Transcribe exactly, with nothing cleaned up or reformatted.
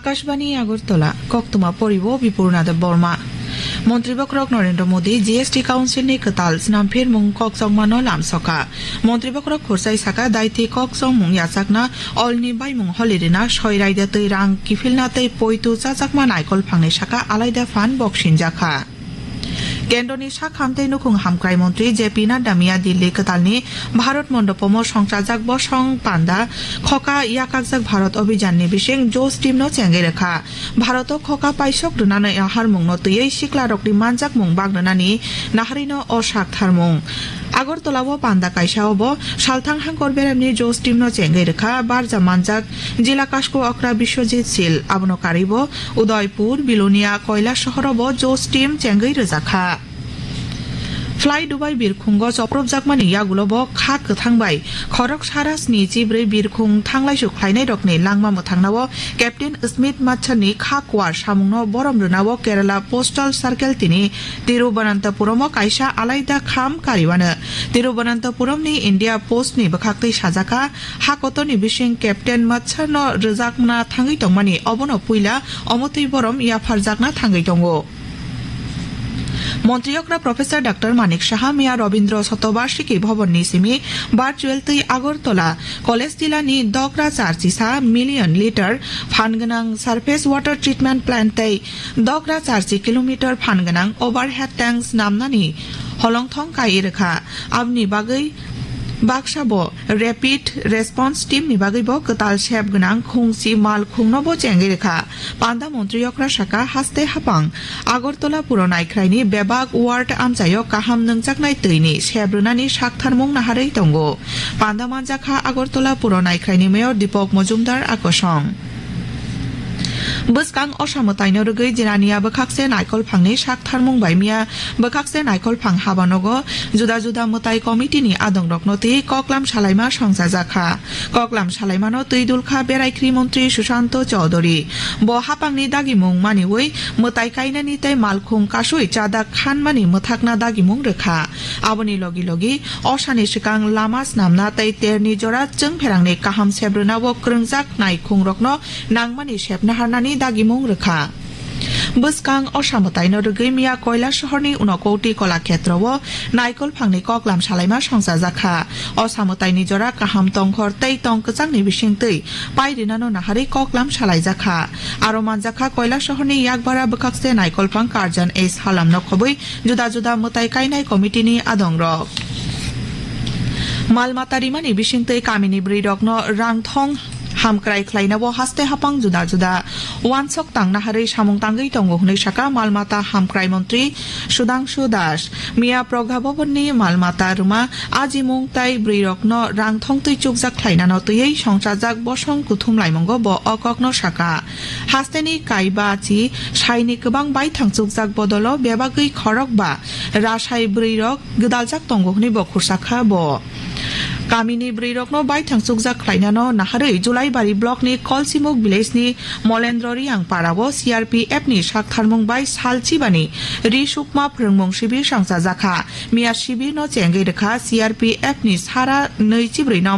Akashbani Agartala, koktwma poribo Bipurna Deb Borma. Montri Bokhorok Narendra Modi G S T Council ni kwtal snamphirmung kokchokmano lamsoka. Montri Bokhorok khurchai saka daiti kokchokmung yachakna olni baimung holirina soi raida twi rang kiphilna tei poitu chajakma naikol phangni saka alaida phan boksinjakha. Kendroni sak hamtei nukhung hamkrai montri J P Nadda miya Dilli kwtalni Bharat Mondopomo songchajak bosong panda khoka yakakjak Bharat Abhijanni bising Josh teamno chengwi rwkha. Bharoto khoka paisok rwnani aharmungno twiwi siklarokni manjakmung bak rwnani naharino o sak tharmung. Agartala o panda kaisa obo salthang hangkor beremni Josh teamno chengwi rwkha, barja manjak Jila Kasko okra Biswajit Sil, abono karwibo Udaipur, Bilonia, Koila sohorobo Josh team chengwi rwjakha. Fly Dubai birkhungo chopropjakmani yagulobo kha kwthang bai khorok sara sni chibrwi birkhung thanglaisu khlainairokni langma mwthangnao Captain Smith Matchani kha kuar samungno borom rwnao Kerala Postal Circle tini Tiruvananthapuromo kaisa alaida kham kariwano. Tiruvananthapuramni India Post ni bwkhaktwi sajaka, ha kotorni bising Captain Matchano rwjakna thangwi tongmani, obono puila omotwi borom yapharjakna thangwi tongo. Montri okra Professor Doctor Manik Saha miya Rabindra Shatobarshiki Bhavan ni simi virtual twi Agartala College Tila ni Dogra Charchisa million liter phan gwnang surface water treatment plant tei Dogra Charchi kilometer phan gwnang overhead tanks namnani holongthong kai rwkha. Aboni bagwi baksa bo Rapid Response Team ni bagwi bo kwtal sep gwnang khungchi mal khungno bo chengwi rwkha. Panda montri okra saka haste hapang Agartala puro naikhraini bebak ward amchaio kaham nungjaknai twini sep rwnani saktharmung naharwi tongo. Panda manjakha Agartala puro naikhraini mayor Deepak Majumdar akosong. Bwskang osa mwtaino rwgwi Jirania bwkhakse naikol phangni saktharmung bai miya bwkhakse naikol phang habanogo juda juda mwtai committee ni adongrokno twi koklam salaima songchajakha. Koklam salaimano twi dulkha Beraikhri montri Sushanto Chowdhury. Bo hapangni dagimung maniwi mwtai kainani tei malkhung kasui chadak khanmani mwthakna dagimung rwkha. Aboni logi logi osani swkang lama snamna tei terni jora chwngpherangni kaham sebrwnao kwrwngjak naikhungrokno nangmani sepna harnani dagimung rwkha. Bwskang osa mwtaino rwgwi miya Koila sohorni Unakoti Kolakhetrao naikol phangni koklam salaima songchajakha. Osa mwtaini jora kaham tongkhor tei tong kwchangni bisingtwi pai rinano naharwi koklam salaijakha. Aro manjakha Koila sohorni yakbara bwkhakse naikol phang Karjan S Halamno khobwi juda juda mwtai kainai committee ni adongrok. Mal mata rimani bisingtwi kamini bwrwirokno rang thong hamkrai khlainao haste hapang juda juda uansok tangna harwi samung tangwi tongo hwnwi saka mal mata hamkrai montri Sudhangshu Das. Miya Pragha Bhavan ni mal mata rwma ajimung tai bwrwirokno rang thong twi chukjak khlainano twiwi songchajak bosong kuthum laimungo bo o kokno saka. Hasteni kaiba chi saini kwbang baithang chukjak bodolo bebagwi khorok ba rasai bwrwirok gwdaljak tongo hwnwi bo khursa kha bo. Kamini bwrwirokno baithang chukjak khlainano naharwi Julaibari block ni Kolsimuk village ni Molendro Riang para o C R P F ni saktharmung bai sal chibani ri sukma phrwngmung sibir sangchajakha. Miya sibirno chengwi rwkha C R P F ni sara nwi chibrwi no